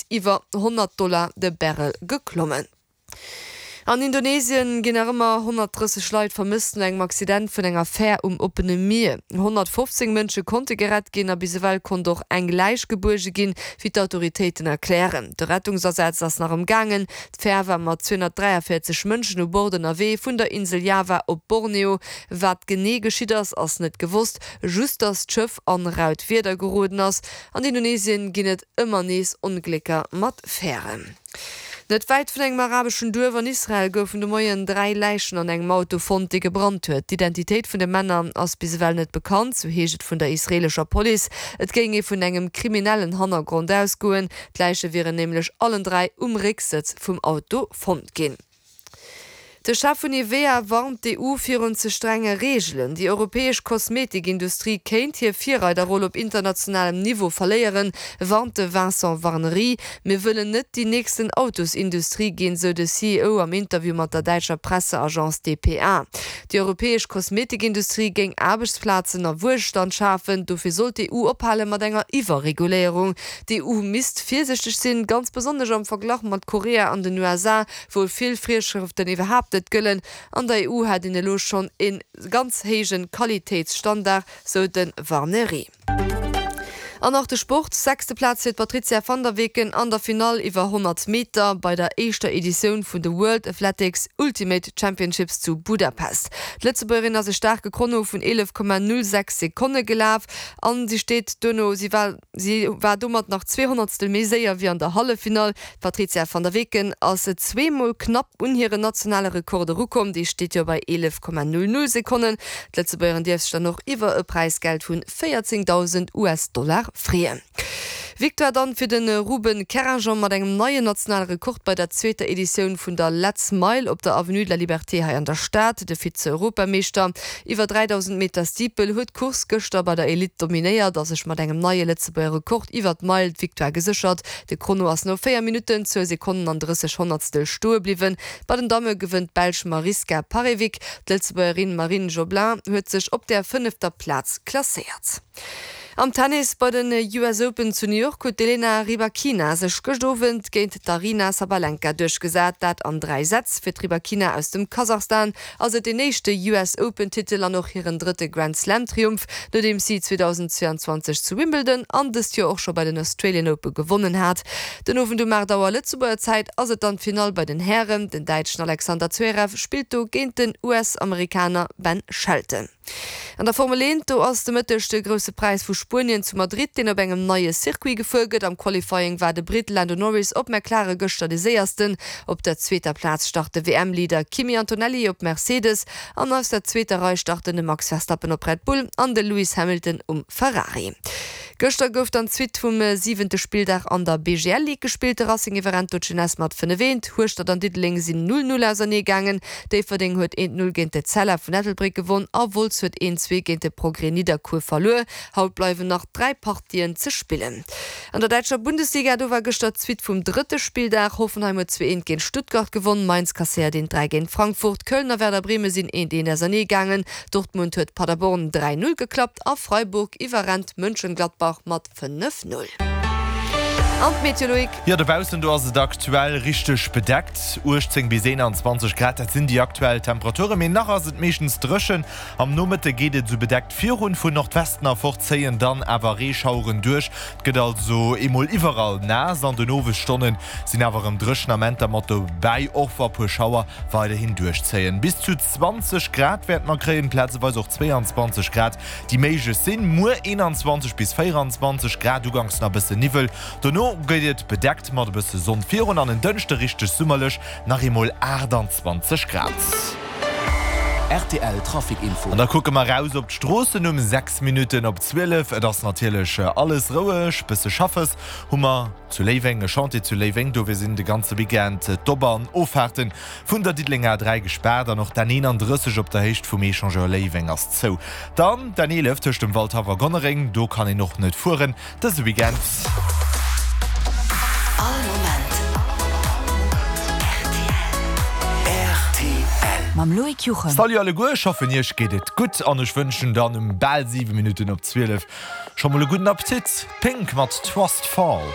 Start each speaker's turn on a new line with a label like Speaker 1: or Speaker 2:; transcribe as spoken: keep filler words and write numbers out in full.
Speaker 1: iwwer honnert Dollar de Barrel geklommen. An Indonesien ginn nach ëmmer honnertdrësseg Leit vermësst no engem Accident vun enger Fär um oppene Mier. Honnertfofzéng Mënsche konnte gerett ginn a bis ewell konnt och eng Läich gebuerge ginn, wéi d'Autoritéiten erklären. De Rettungsasaz ass nach am gaangen. D'Fär war mat zweehonnertdräiavéierzeg Mënschen u Bord ënnerwee vun der Insel Java op Borneo. Wat genee geschitt ass, ass net gewosst, just datt d'Schëff an raut Wieder geroden ass. An Indonesien ginn et ëmmer nees Onglécker mat Fären. Net wäit vun engem arabeschen Duerf an Israel goufen de Moien dräi Läichen an engem Auto fonnt, dee gebrannt huet. D'Identitéit vun de Männer ass bis ewell net bekannt, sou heescht et vun der israeelescher Police. Et géing ee vun engem kriminellen Hannergrond ausgoen. D'Läiche wieren nämlech allen dräi um Récksëtz vum Auto fonnt ginn. De Chef vun Nivea warnt d'E U virun ze strenge Reegelen. Déi europäesch Kosmetikindustrie kéint hir Virreiderroll op internationalem Niveau verléieren, warnt de Vincent Warnery. Mir wëllen net déi nächsten Autosindustrie ginn, sou de C E O am Interview mat der däitscher Presseagence D P A. Déi europäesch Kosmetikindustrie géing Aarbechtsplazen a Wuelstand schafen, dofir sollt d'E U ophale mat enger Iwwerreguléierung. D'E U misst virsiichteg sinn, ganz besonnesch am Verglach mat Korea an den U S A, wou vill Virschrëften iwwerhaapt net gëllen. An der E U hätt een elo schonn e ganz héije Qualitéitsstandard, sou de Warnery. An nach de Sport, Sechste Plaz fir d'Patrizia van der Weken an der Finall iwwer honnert Meter bei der éischter Editioun vun de World Athletics Ultimate Championships zu Budapest. D'Lëtzebuergerin ass e staarke Chrono vun eelef Komma null sechs Sekonne gelaf an si steet duerno si war si war domat nach zwee Honnertstel méi séier wéi an der Halleffinall. D'Patrizia van der Weken ass zweemol knapp un hiren nationale Rekord erukomm, dee steet jo bei eelef Komma null null Sekonnen. D'Lëtzebuergerin dierf sech dann och iwwer e Präisgeld vun véierzéngdausend U S-Dollar freeën. Victoire dann fir de Ruben Kerringeon mat engem neien nationale Rekord bei der zweeter Editioun vun der Let's Mile op der Avenue de la Liberté hei an der Stad. De Vize-Europameeschter iwwer dräidausend Meter Steeple huet d'Course gëschter bei der Elite dominéiert a sech mat engem neie Lëtzebuerger Rekord iwwer d'Meil d'Victoire geséchert. De Chrono ass no véier Minutten, zwou Sekonnen an drësseg Honnertstel stoe bliwwen. Bei den Damme gewënnt d'Belsch Mariska Parewijk. D'Lëtzebuergerin Marine Joblin huet sech op der fënnefter Plaz klasséiert. Am Tennis bei den U S Open zu New York huet d'Elena Rybakina sech gëscht Owend géint d'Aryna Sabalenka duerchgesat, dat an dräi Sätz. Fir d'Rybakina aus dem Kasachstan ass et deen éischte U S Open Titel an och hiren drëtte Grand Slam Triumph, nodeems si zweedausendzweeanzwanzeg zu Wimbledon an dëst Joer och scho bei den Australian Open gewonnen hat. Den Owend um aacht Auer Lëtzebuerger Zäit ass et dann d'Finall bei den Hären. Den Däitschen Alexander Zverev spillt do géint den U S-Amerikaner Ben Shelton. An der Formel eent, do ass de Mëtteg de Grousse Präis vu Spuenien zu Madrid, deen op engem neie Circuit gefuer gëtt. Am Qualifying war de Britt Lando Norris op McLaren gëschter de Séiersten. Op der zweeter Plaz start de W M-Leader Kimi Antonelli op Mercedes an aus der zweeter Rei starten de Max Verstappen op Red Bull an de Lewis Hamilton um Ferrari. Gëschter gouf dann d'Suite vum siwente Spilldag an der B G L Ligue gespillt. De Racing iwwerrennt do d'Jeunesse mat fënnef eent. Hueschtert an Diddeleng sinn null null ausernee gaangen. Déifferdeng huet eent null géint d'Etzella vun Ettelbréck gewonn a Wolz huet eent zwee géint de Progrès Nidderkuer verluer. Haut bleiwen nach dräi Partien ze spillen. An der däitscher Bundesliga, do war gëschter d'Suite vum drëtte Spilldag. Hoffenheim huet zwee eent géint Stuttgart gewonn, Mainz kasséiert eent dräi géint Frankfurt, Köln a Werder Bremen sinn eent eent ausernee gaangen, Dortmund huet Paderborn dräi null geklappt a Freiburg iwwerrennt Mönchengladbach mat fënnef null. An d'Meteo, Loïc.
Speaker 2: Jo, dobaussen do ass et aktuell richteg bedeckt. uechtzéng bis eenanzwanzeg Grad, dat sinn déi aktuell Temperaturen, mee nach ass et meeschtens dréchen. Am Nomëtte geet et esou bedeckt virun, vun Nordwesten erfort zéien dann awer Reeschaueren duerch. Et gëtt also emol iwwerall naass. An den Owesstonne sinn awer erëm dréchen Amenter mat dobäi, och wa puer Schauer weiderhin duerchzéien. Bis zu zwanzeg Grad wäerte mer kréien, plazeweis och zwéianzwanzeg Grad, déi méiglech sinn. Muer eenanzwanzeg bis véieranzwanzeg Grad, uganks nach e bësse Niwwel, dono gëtt et bedeckt mat e bësse Sonn virun an en Dënschde richteg summerlech, nach eemol aachtanzwanzeg Grad.
Speaker 3: R T L Trafic Info.
Speaker 2: An da kucke mer raus op d'Stroossen um sechs Minutten op zwielef. Et ass natierlech alles roueg, bësse Schaffes hu mer zu Léiweng, e Chantier zu Léiweng, dofir sinn de ganze Weekend d'Op an Offaarte vun der Diddelenger A dräi gespaart an och d'N eenandrësseg op der Héicht vum Echangeur Léiweng ass zou. Dann d'N eelef tëscht dem Waldhaff a Gonnereng, do kann een och net fueren dëse Weekend.
Speaker 4: All Moment R T L.
Speaker 5: Mam Loïc Juchem.
Speaker 2: Salut alleguer, ech hoffen iech geet et gutt an ech wënschen dann um bal siwe Minutten op zwielef scho mol e gudden Appetit. Pink mat Trust Fall.